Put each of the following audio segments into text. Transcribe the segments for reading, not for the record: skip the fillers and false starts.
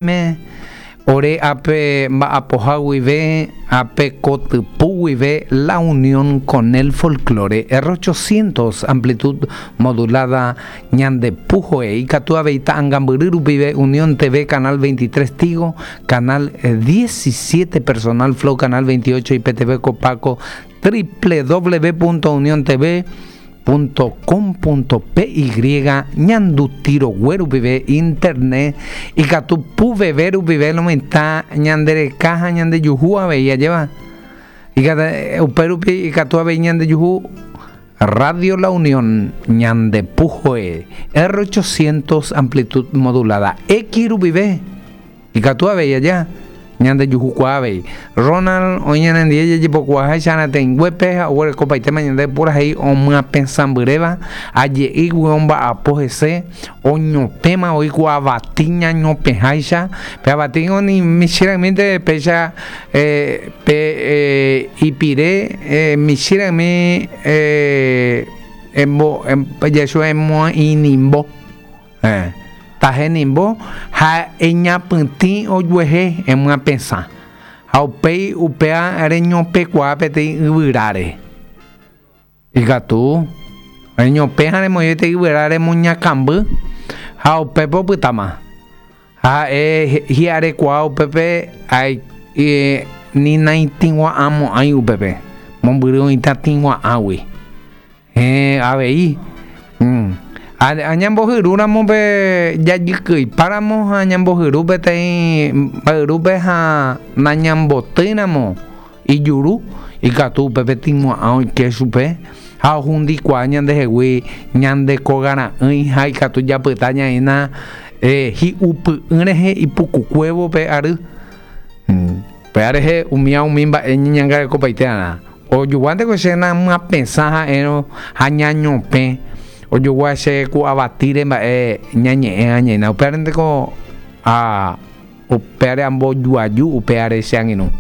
Me, ore ápe mba'apoha guive, ápe kotypu guive La Unión con el Folklore, R800 amplitud modulada ñande puhoe, ikatu avei ta'angambyry rupive Unión TV canal 23 Tigo, canal 17 Personal Flow, canal 28 IPTV Copaco, www.uniontv. .com.py ñanduti rogue rupive internet ikatu puveve rupive lo mitã ñande reka ha ñande juhu avei ajéva upe rupi ikatu avei ñande juhu Radio La Unión ñande puhoe R800 amplitud modulada X rupive Ikatu avei aja, ñandejuhukuaa avei. Ronald oĩ ñanendie jajepokuaaháicha arateĩnguépe ha oguerekopaitéma ñande purahéi omyapesãmbyréva, aje'ígui omba'apo hese, oñopẽma oĩ ku avati ñañopẽháicha, pe avati ningo ni michĩra'ymínte péicha pe ipire michĩra'ymi jahecha emo'inimbo. Héẽ, tahenimbo ha eñapytĩ ojuehe emyapesã, ha upéi upéva reñopẽkuaa peteĩ yvyráre. Ikatu reñopẽ ha remoĩ peteĩ yvyra remoñakamby ha upépe opytáma. Ha ha'e hi'arekuaa upépe ni naitĩgua'ãmo'ãi upépe, mombyry oĩta tĩgua'ãgui. Héẽ, avei. Añambohyrúramo pe jajykyiparamo ha añambohyru peteĩ mba'yrúpe ha nañambotýiramo ijuru, ikatu upépe tĩgua'ã oike chupe ha ohundikuaa ñandehegui ñande kogara'ỹi ha ikatu japyta ñaína hi'upy'ỹ rehe ipukukuévo pe ary. Upéva rehe umíva umi mba'e ñeñangarekopaite arã. Ojoguánteko che namyapesã ha'érõ ha ñañopẽ, ojogua che ku avatíre mba'e ñañe'ẽ añaina. Upévarenteko ha upévare ambojuaju upévare che angirũ.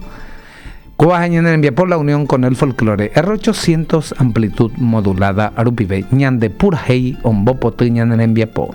Kóva ha ñane rembiapo La Unión con el Folklore R800 amplitud modulada rupive ñande purahéi ombopoty ñane rembiapo.